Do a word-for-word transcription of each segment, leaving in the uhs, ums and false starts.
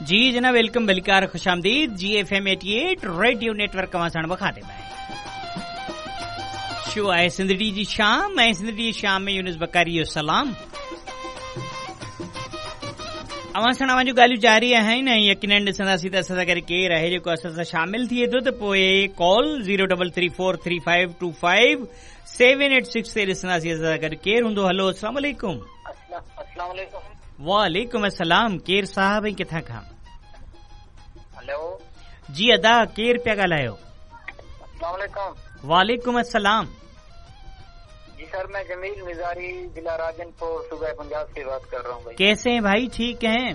जी जनाब, welcome, भलीकार, खुशामदीद। G F M eighty eight radio network अवां साण बखाते में शो आहे सिंधड़ी जी शाम ऐं सिंधड़ी जी शाम में यूनुस बकारी जो सलाम। अवां साण अवां जूं ॻाल्हियूं जारी आहिनि ऐं यकीनन ॾिसंदासीं त असां सां गॾु केरु आहे जेको असां सां शामिल थिए थो त पोइ call zero double three four three five two five seven eight six ते ॾिसंदासीं असां सां गॾु केरु हूंदो। हलो, अस्सलाम वालेकुम। अस्सलाम वालेकुम। वालेकुम अस्सलाम। केरु साहब ऐं किथां खां? हेलो जी अदा, केरु पिया ॻाल्हायो? अस्सलाम वालेकुम। वालेकुम अस्सलाम। जी सर, मैं जमील मिजारी जिला राजनपुर सूबा पंजाब से बात कर रहा हूँ। भाई कैसे हैं भाई? ठीक हैं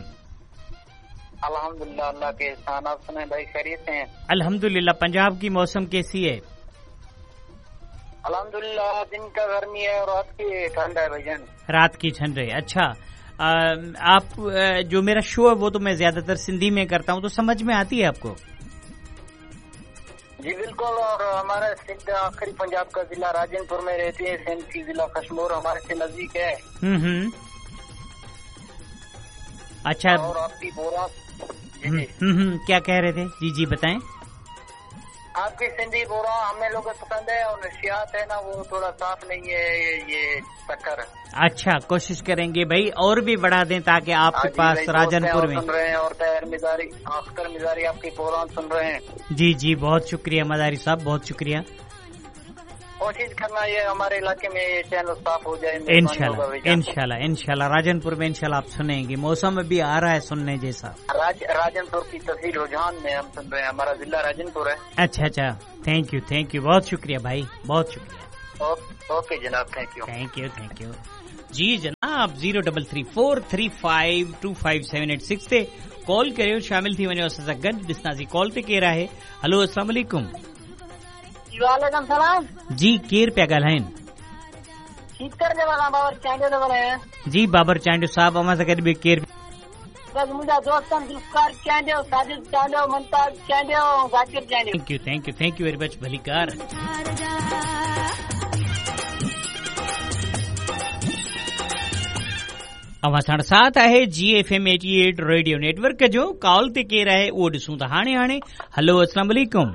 अल्हम्दुलिल्लाह, अल्लाह के एहसान। आप सुनाएं भाई, खैरियत से हैं? अल्हम्दुलिल्लाह। पंजाब की मौसम कैसी है? अल्हम्दुलिल्लाह, दिन का गर्मी है और रात की ठंड है भाईजान। रात की ठंड है। अच्छा, आ, आप जो मेरा शो है वो तो मैं ज्यादातर सिंधी में करता हूँ, तो समझ में आती है आपको? जी बिल्कुल। और हमारा सिंध आखिरी पंजाब का जिला राजनपुर में रहती है। सिंध की जिला कश्मोर हमारे से नजदीक है। हम्म हम्म। अच्छा, और आपकी बोरा हम्म हम्म, क्या कह रहे थे? जी जी बताएं। आपकी सिंधी बोरा हमें लोगों को पसंद है और नशियात है ना वो थोड़ा साफ नहीं है, ये, ये शक्कर। अच्छा, कोशिश करेंगे भाई और भी बढ़ा दें ताकि आपके पास राजनपुर में सुन रहे हैं और तैर मिजारी, अख्तर मिजारी आपकी प्रोग्राम सुन रहे हैं। जी जी, बहुत शुक्रिया मदारी साहब, बहुत शुक्रिया। कोशिश करना ये हमारे इलाके में ये चैनल साफ हो जाए इंशाल्लाह, इंशाल्लाह, इंशाल्लाह। राजनपुर में इंशाल्लाह आप सुनेंगे, मौसम भी आ रहा है सुनने जैसा। राज, राजनपुर की तहसील रुझान में हम सुन रहे हैं, हमारा जिला राजनपुर है। अच्छा अच्छा, thank you thank you, बहुत शुक्रिया भाई, बहुत शुक्रिया। ओके जनाब, thank you thank you thank you. जी जनाब, zero double three four three five two five seven eight six ते कॉल करियो, शामिल थी वञो असां सां गॾु। ॾिसंदासीं कॉल ते केरु आहे। हलो, अस्सलाम वालेकुम। वालेकुम सलाम। जी केरु पिया ॻाल्हाइनि? बाबर चांडियो थो ॻाल्हायां। जी बाबर चांडियो साहब, अवां सां गॾु ॿियो केरु? बस मुंहिंजा दोस्त आहिनि Zulfikar Chandio, Sajid Chandio, Mumtaz Chandio, Zakir Chandio. Thank you thank you thank you very much, भलीकार। अवां साण साथ आहे G F M eighty eight radio network जो। कॉल ते केरु आहे उहो ॾिसूं था हाणे हाणे। हलो, अस्सलाम वालेकुम।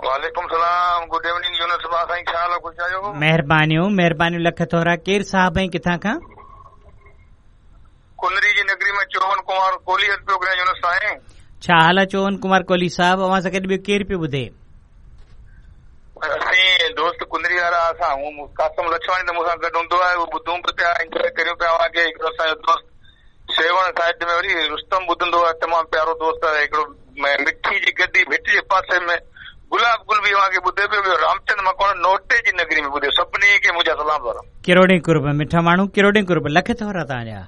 वालेकुम सलाम। गुड इवनिंग यूनुस भाउ साईं, छा हाल ख़ुशि आहियो? महिरबानियूं महिरबानियूं, लख थोरा। केरु साहब ऐं किथां खां? कुनरी जी नगरी में चोवन कुमार कोहली पियो ॻाल्हायां यूनुस साईं। छा हाल आहे चोवन कुमार कोहली साहब? अवां सां गॾु ॿियो केरु पियो ॿुधे? असीं दोस्त कुनरी वारा असां, कासम लछवाणी त मूंसां गॾु हूंदो आहे, उहो ॿुधूं बि पिया, इंजॉय करियूं पिया अव्हांखे। हिकिड़ो असांजो दोस्त सेवण साइड में वरी रुस्तम ॿुधंदो आहे, तमामु प्यारो दोस्त आहे। हिकिड़ो मिठी जी गॾी भिट जे पासे में गुलाब गुल बि अव्हांखे ॿुधे पियो, ॿियो रामचंद मकवाणा नोटे जी नगरी में ॿुधे। सभिनी खे मुंहिंजा सलाम थोरा। किरोड़े कुर्ब मिठा माण्हू, किरोड़े कुर्ब, लख थोरा तव्हांजा।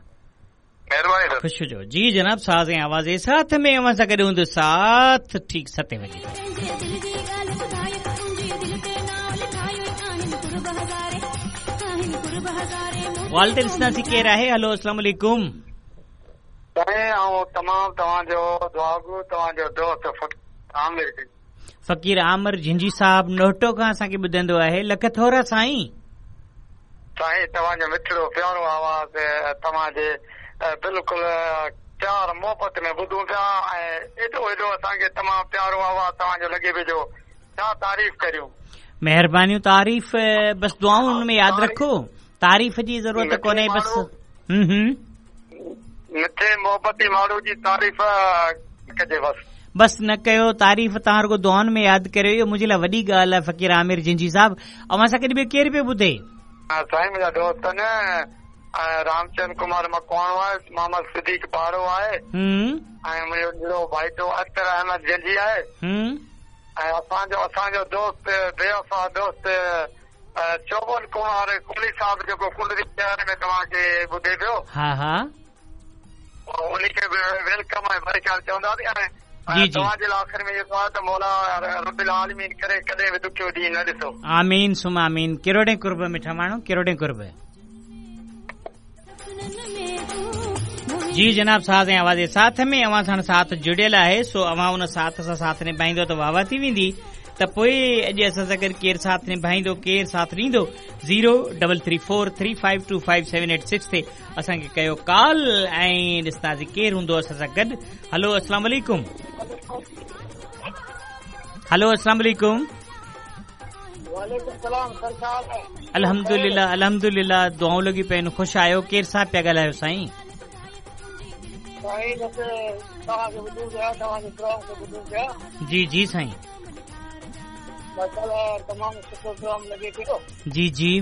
महिरबानी सर, ख़ुशि हुजो। जी जनाब, साज़ ऐं आवाज़ जे साथ में अव्हां सां गॾु हूंदो साथ ठीक सते वॼे। वाल ते ॾिसंदासीं केरु आहे। हलो, अस्सलाम वालेकुम। ऐं तमामु तव्हांजो दुआगो, तव्हांजो दोस्त आमिर फ़कीर आमिर झिंझी साहब नोटो खां असांखे ॿुधंदो आहे। लख थोरा साईं। साईं तव्हांजो मिठड़ो प्यारो आवाज़ तव्हांजे बिल्कुलु प्यार मोहबत में ॿुधूं पिया ऐं एॾो एॾो असांखे तमामु प्यारो आवाज़ तव्हांजो लॻे पियो जो छा तारीफ़ करियूं। महिरबानियूं, तारीफ़ बस दुआऊं हुन में यादि रखो, तारीफ़ जी ज़रूरत कोन्हे बस। हम्म हम्म, मिठे मोहबती माण्हू जी तारीफ़ कजे बस बस न कयो तारीफ़, तव्हां रुगो दुआउनि में यादि करियो, इहो मुंहिंजे लाइ वॾी ॻाल्हि आहे। फ़कीर आमिर जिंजी साहब, अव्हां सां गॾु ॿियो केरु पियो ॿुधे? साईं मुंहिंजा दोस्त आहिनि, रामचंद कुमार मकवाणो आहे, मोहम्मद सिद्दीक पाड़ो आहे, ऐं मुंहिंजो नंढो भाईटो अख्तर अहमद जंजी आहे, ऐं असांजो असांजो दोस्त बेवफ़ा दोस्त चोवन कुमार कोहली साहब जेको कुंडरी शहर में तव्हांखे ॿुधे पियो। हा हा, उन खे welcome ऐं भलीकार चवंदासीं। ऐं जी जी, तव्हांजे लाइ आख़िर में जेको आहे त मौला रब्बुल आलमीन करे कॾहिं बि ॾुखियो ॾींहुं न ॾिसो। आमीन सुम आमीन। किरोड़े कुर्ब मिठा माण्हू, किरोड़े कुर्ब। जी जनाब, साज़ ऐं आवाज़ जे साथ में अव्हां सां साथ जुड़ियल आहे, सो अव्हां उन साथ सां साथ निभाईंदो त वाह वाह थी वेंदी। त त पोइ अॼु असां सां गॾु केरु साथ निभाईंदो, केरु साथ ॾींदो। Zero double three four three five two five seven eight six ते असांखे कयो कॉल ऐं ॾिसंदासीं केरु हूंदो असां सां गॾु। हलो अस्सलाम वालेकुम। हलो अस्सलाम वालेकुम। वालेकुम सलाम सर साहब। अल्हम्दुलिल्लाह अल्हम्दुलिल्लाह, दुआऊं लॻी पई आहिनि। ख़ुशि आहियो? केरु साहिब पिया ॻाल्हायो साईं? साईं बसि तव्हांखे ॿुधूं पिया, तव्हांजे प्रोग्राम खे ॿुधूं पिया। जी जी साईं, माशाअल्लाह तमामु सुठो प्रोग्राम लॻे पियो। जी जी।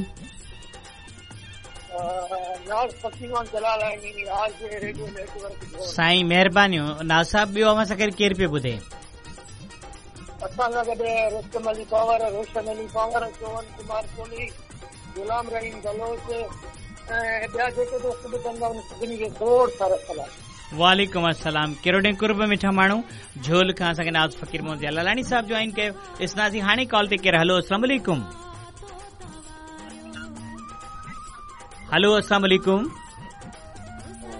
नाज़ फ़कीर जलाल आज रेडियो नेटवर्क। साईं महिरबानियूं। नाज़ साहिब, ॿियो अव्हां सां गॾु केरु पियो ॿुधे? असां सां गॾु रुस्तम अली पावर, रोशन अली पावर, चोवन कुमार कोहली, गुलाम रहीम बलोच ऐं ॿिया जेके दोस्त ॿुधंदा आहिनि सभिनी खे खोड़ सारा सलाम। वालेकुम अस्सलाम। किरोड़े कुर्ब मिठा माण्हू झोल खां असांखे नाज़ फ़कीर मोहम्मद जलालानी साहिब जॉइन कयो। ॾिसंदासीं हाणे कॉल ते केरु। हलो अस्सलाम वालेकुम। हलो अस्सलाम वालेकुम।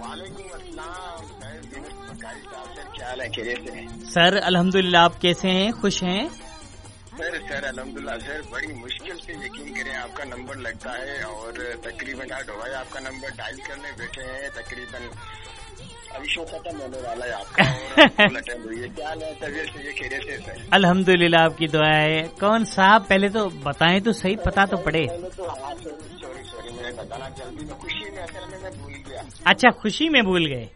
वालेकुम अस्सलाम। सर क्या हाल है? सर अल्हम्दुलिल्लाह, आप कैसे हैं? खुश हैं? सर सर अल्हम्दुलिल्लाह सर, बड़ी मुश्किल से यकीन करें आपका नंबर लगता है और तकरीबन आठ हुआ है आपका नंबर डायल करने बैठे हैं, तकरीबन अभी शो खत्म होने वाला है आपका और अटेंड हुई है। क्या हाल है? तबीयत से ये खैरियत से सर? अल्हम्दुलिल्लाह, आपकी दुआ है। कौन साहब, पहले तो बताएं तो सही, पता तो पड़े। पहले तो हाँ सॉरी सॉरी मैंने बताना जल्दी में, खुशी में असल में मैं भूल गया। अच्छा, खुशी में भूल गए?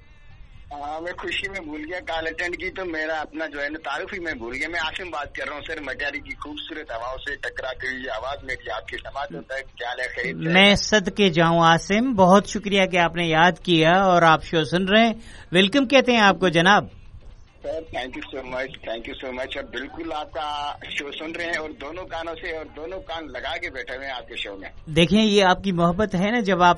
हाँ, मैं खुशी में भूल गया। कॉल अटेंड की तो मेरा अपना जो है ना तारुफ ही मैं भूल गया। मैं आसिम बात कर रहा हूँ सर, मटियारी की खूबसूरत हवाओं से टकरा गई आवाज मेरी आपके समाज होता है। क्या हाल है? खैर? मैं सदके जाऊँ आसिम, बहुत शुक्रिया कि आपने याद किया और आप शो सुन रहे हैं। Welcome कहते हैं आपको जनाब। Sir thank you so much, thank you so much. अब बिल्कुल आपका शो सुन रहे हैं और दोनों कानों से और दोनों कान लगा के बैठे हुए हैं आपके शो में। देखें, ये आपकी मोहब्बत है ना, जब आप